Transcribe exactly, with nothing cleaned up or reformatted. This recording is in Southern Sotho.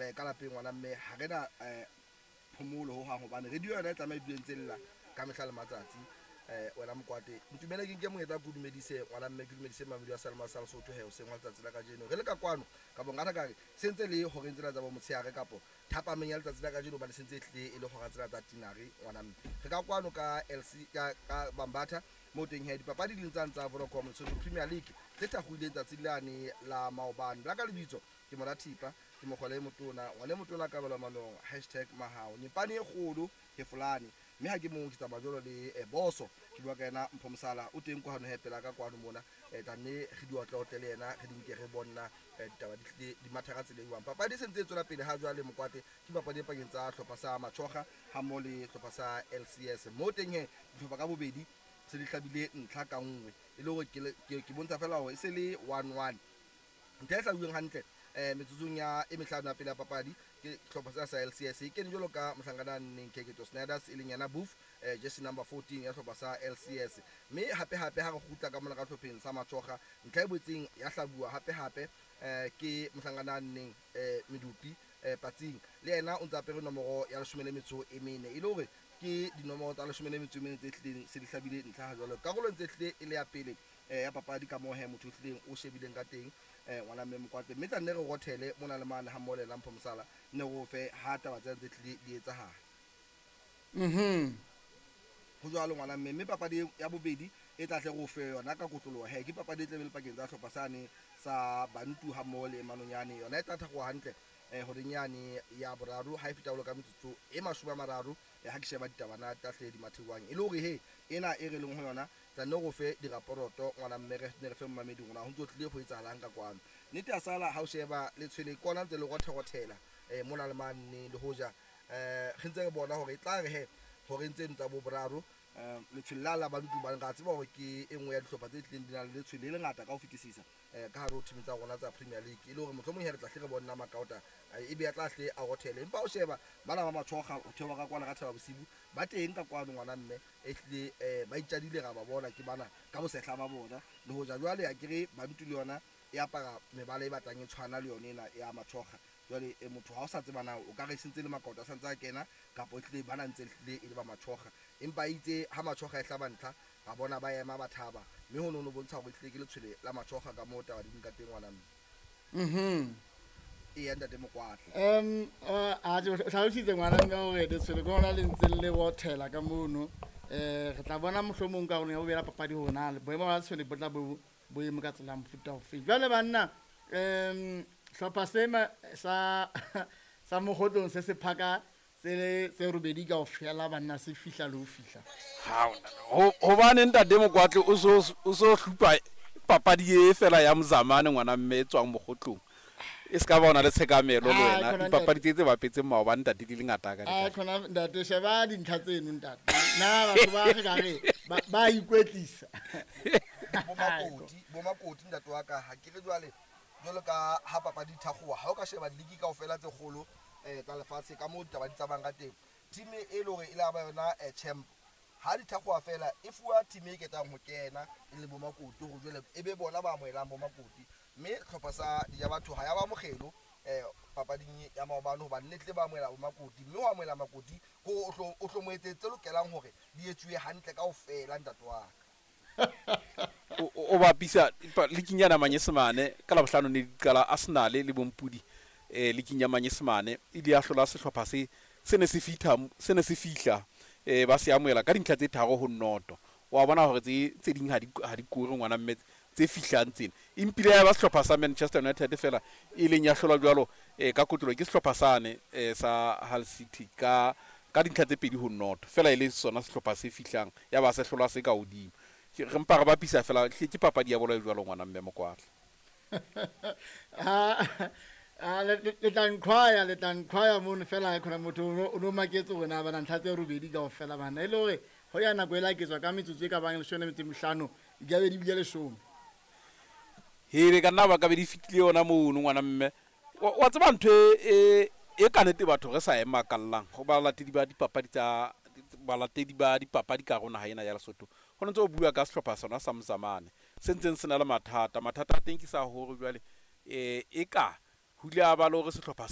eh, ka lapeng ngwana mme ha re na eh, phomolo ho hang hobane radio yona e tlameha e dule ntse lla ka mehla le matsatsi. Eh, wena Mokwate, ntumele ke nke monyetla ke o dumedise ngwana mme, ke dumedise mamedi wa Salma sa Lesotho he hoseng wa letsatsi la kajeno. Re le ka kwano ka bongata ka re se ntse le horeng tsena tsa bo motshehare kapo thapameng ya letsatsi la kajeno, hobane se ntse e hlile e le hora tsena tsa tinare ngwana mme. Re ka kwano ka L C ka, ka Bambatha moo teng he dipapadi di ntsang tsa Vodacom Lesotho Premier League tse thakgoileng tsatsi lane la maobane. La ka lebitso ke Mora Thipa, ke mokgwele e motona, ngwana e motona kabelo manong, hashtag mahao. Nyepane e kgolo he folane, mme ha ke mong ke tsamaya jwalo le, eh, boso, ke bua ka yena Mpho Mosala, o teng kwano he pela ka kwano mona, eh, tla nne re di otleotle le yena, re di nke re bonna, eh, ditaba di tlile di matha ka tsela e jwang. Papadi e sentse e tswela pele ha jwale Mokwate, ke papadi e pakeng tsa hlopha sa Matjhoga ha mmoho le hlopha sa L C S. Moo teng he dihlopha ka bobedi se di hlabile ntlha ka nngwe, e le hore ke le, ke, ke bontsha fela hore e se le one one. Ntlha e hlabilweng hantle, eh, metsotsong ya e mehlano ya pele ya papadi ke hlopha sena sa L C S e kene jwalo ka mohlankana a nneng Keketso Snyders, e leng yena Boof, eh, jersey number fourteen ya hlopha sa L C S. Mme hape hape ha re kgutla ka mona ka hlopheng sa Matjhoga, ntlha e boetseng ya hlabuwa hape hape, eh, ke mohlankana a nneng, eh, Medupi, eh, Patsing, le yena o ntse apere nomoro ya leshome le metso e mene, e le hore ke dinomoro tsa leshome le metso e mene tse hlileng se di hlabile ntlha ha jwalo. Karolo ntse hlile e le ya pele, eh, ya papadi ka moo he motho o hlileng o shebileng ka teng, eh, ngwana mme Mokwate. Mme tla nne re rothele mona le mane ha mmoho le yena Mpho Mosala, nne re o fe ha taba tsena tse hlile di etsahala. Mhm. Ho jwalo ngwana mme, mme papadi ya bobedi e tla tle re o fe yona ka kotloloho he, ke papadi e tla be le pakeng tsa hlopha sane sa Bantu ha mmoho le Manonyane. Yona e tla thakgoha hantle, eh, horeng yane ya boraro ha e feta jwalo ka metsotso e mashome a mararo, eh, ha ke sheba ditaba na tla hle di mathewang. E le hore he ena e re leng ho yona tla nne re o fe diraporoto ngwana mme, re ne re fe mmamedi rona ho ntso tlile ho etsahalang ka kwano. Nnete ya sala ha o sheba letshwele kona ntse le rotherothela, eh, mona le mane, le hoja, eh, re ntse re bona hore e tla re he horeng tseno tsa bo boraro, eh, letshwele la la Bantu ba re tseba hore ke e nngwe ya dihlopha tse tlileng di na le letshwele le lengata ka ho fetisisa, eh, ka hare ho team tsa rona tsa Premier League. E le hore mohlomong he re tla hle re bona Makaota, eh, e be ya tla hle a rothele. Empa o sheba bana ba Matjhoga ho theoha ka kwana ka Thaba Bosiu, ba teng ka kwano ngwana mme, e hlile, eh, ba itjadile ra ba bona ke bana ka bosehla ba bona. Le hoja jwale ha ke re Bantu le yona e apara mebala e batlang e tshwana le yone ena ya Matjhoga. Jwale, eh, motho ha o sa tseba na o ka re sentse le Makaota a santse a kena kapa e hlile bana ntse hlile e le ba Matjhoga, empa itse ha Matjhoga e hlaba ntlha ra bona ba ema ba thaba, mme ho no bontsha hore e hlile ke letshwele la Matjhoga ka moo taba di ka teng ngwana mme. Mhm. Eya ntate Mokwatla. Em, eh, a tjhe, o hlalositse ngwana mme hore letshwele ke hona le ntse le rothela ka mono. Eh, re tla bona mohlomong ka rona ya bobedi ya papadi hore na boemo ba letshwele bo tla bo bo eme ka tsela ya mofuta ofe. Jwale banna, em, hlopha sena sa, sa Mokgotlong se se phaka tse, tse robedi kaofela banna se fihla le ho fihla. Ha, ho, hobane ntate Mokwatla o so, o so hlupa papadi e fela ya Mzamane ngwana mme e tswang Mokgotlong. E ska ba ona le tshekamelo le Ah, wena. khona Dipapadi ntate. tse tse bapetseng maobane ntate di le ngata ka Ah, dikatla. khona ntate, sheba dintlha tseno ntate. Na batho ba re ka re, ba, ba ikwetlisa. Bo Makoti, bo Makoti ntate wa ka, ha ke re jwale, jwalo ka ha papadi di thakgoha, ha o ka sheba diligi kaofela tse kgolo, eh, tsa lefatshe ka moo ditaba di tsamayang ka teng, team e le hore e la ba yona, eh, champ, ha di thakgoha fela e fuwa team e ketang ho kena e le bo Makoti, hore jwale e be bona ba amohelang bo Makoti. Mme hlopha sa Dijabatho ha ya ba mokgelo, eh, papading ya maobane, hobane ne tle ba amohela bo Makoti, mme ho amohela Makoti ko o tlo, o tlo mo etsetse tse lokelang hore di etsuwe hantle kaofela ntate wa ka. O, o, o bapisa pa-, leaking ya Manyesemane ka Labohlano ne di qala Arsenal le Bompudi, eh, leaking ya Manyesemane e ile ya hlola sehlopha se, se ne se fihla, se ne se fihla, eh, ba se amohela ka dintlha tse tharo ho noto. Wa bona hore tse, tse ding ha di, ha di kore ngwana mme tse fihlang tsena. Empile ya ba sehlopha sa Manchester United fela e leng ya hlola jwalo, eh, ka kotlolo ke sehlopha sane, eh, sa Hull City ka, ka dintlha tse pedi ho noto. Fela e le sona sehlopha se fihlang ya ba se hlola se ka hodimo. Ke re mpa re bapisa fela, ke, ke papadi ya bolo e jwalo ngwana mme Mokwatla. Ah, ah, le, le, le tla nqhwaya, le tla nqhwaya mono fela, khona motho o no, o no maketse hore na bana ntlha tse robedi kaofela bana. E le hore ho ya nako e la ketswa ka metsotso e ka bang leshome le metso e mehlano, di ka be di bile leshome. Hele, ka nna ba ka be di fetile yona mono ngwana mme. Wa, wa tseba ntho e, e, e ka nnete batho re sa e makallang ho balatedi ba dipapadi tsa, balatedi ba dipapadi ka rona ha ena ya Lesotho. Ho ntse o bua ka sehlopha sona sa Mzamane se ntseng se na le mathata. Mathata a teng ke sa hore jwale, eh, e ka ho ile a ba le hore sehlopha